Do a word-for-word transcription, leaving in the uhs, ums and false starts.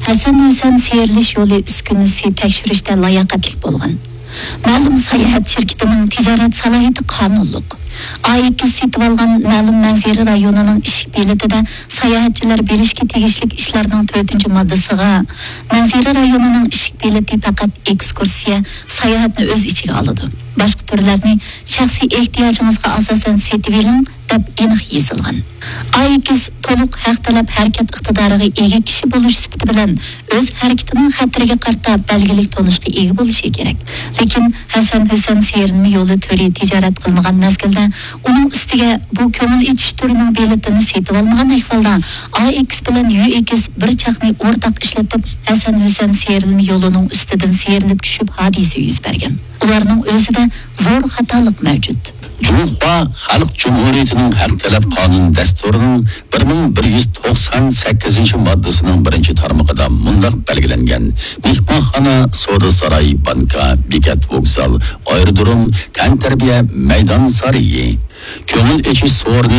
ھەسەن ھۈسەن سىيرىلىش يولى ئۈسكۈنىسى تەكشۈرۈشتە لاياقەتلىك بولغان. مەلۇم ساياھەت شىركىتىنىڭ تىجارەت سالاھىيىتى قانۇنلۇق. ئائىكس سېتىۋالغان مەلۇم مەنزىرە رايونىنىڭ ئىشىك بېلىتىدە ساياھەتچىلەر بېرىشكە تېگىشلىك ئىشلارنىڭ تۆتىنچى ماددىسىغا، مەنزىرە رايونىنىڭ ئىشىك بېلىتى پەقەت ئېكسكۇرسىيە، ساياھەتنى ئۆز ئىچىگە ئالىدۇ. باشقا تۈرلەرنى شەخسىي ئېھتىياجىڭىزغا ئاساسەن سېتىۋېلىڭ، دەپ ئېنىق يېزىلغان. ئائىكس تولۇق ھەق تەلەپ ھەرىكەت ئىقتىدارىغا ئىگە كىشى بولۇش سۈپىتى بىلەن ئۆز ھەرىكىتىنىڭ خەتىرىگە قارىتا بەلگىلىك تونۇشقا ئىگە بولۇشى كېرەك. لېكىن ھەسەن ھۈسەن سىيرىلمە يولى تۈرى تىجارەت قىلمىغان مەزگىلدە ئۇنىڭ ئۈستىگە بۇ كۆڭۈل ئېچىش تۈرىنىڭ بېلىتىنى سېتىۋالمىغان ئەھۋالدا، ئائىكس بىلەن يۈئېكس بىر چاقنى ئورتاق ئىشلىتىپ، ھەسەن ھۈسەن سىيرىلمە يولىنىڭ ئۈستىدىن سىيرىلىپ چۈشۈپ ھادىسە يۈز بەرگەن. ئۇلارنىڭ ئۆزىدە زور خاتالىق مەۋجۇت. جۇڭخۇا خەلق جۇمھۇرىيىتىنىڭ ھەق تەلەپ قانۇن دەستۇرىنىڭ بىر مىڭ بىر يۈز توقسان سەككىزىنچى ماددىسىنىڭ بىرىنچى تارمىقىدا مۇنداق بەلگىلەنگەن: مېھمانخانا، سودا ساراي، بانكا، بېكەت، ۋوگزال، ئايرودروم، تەنتەربىيە، مەيدان سارىيى، كۆڭۈل ئېچىش سورۇنى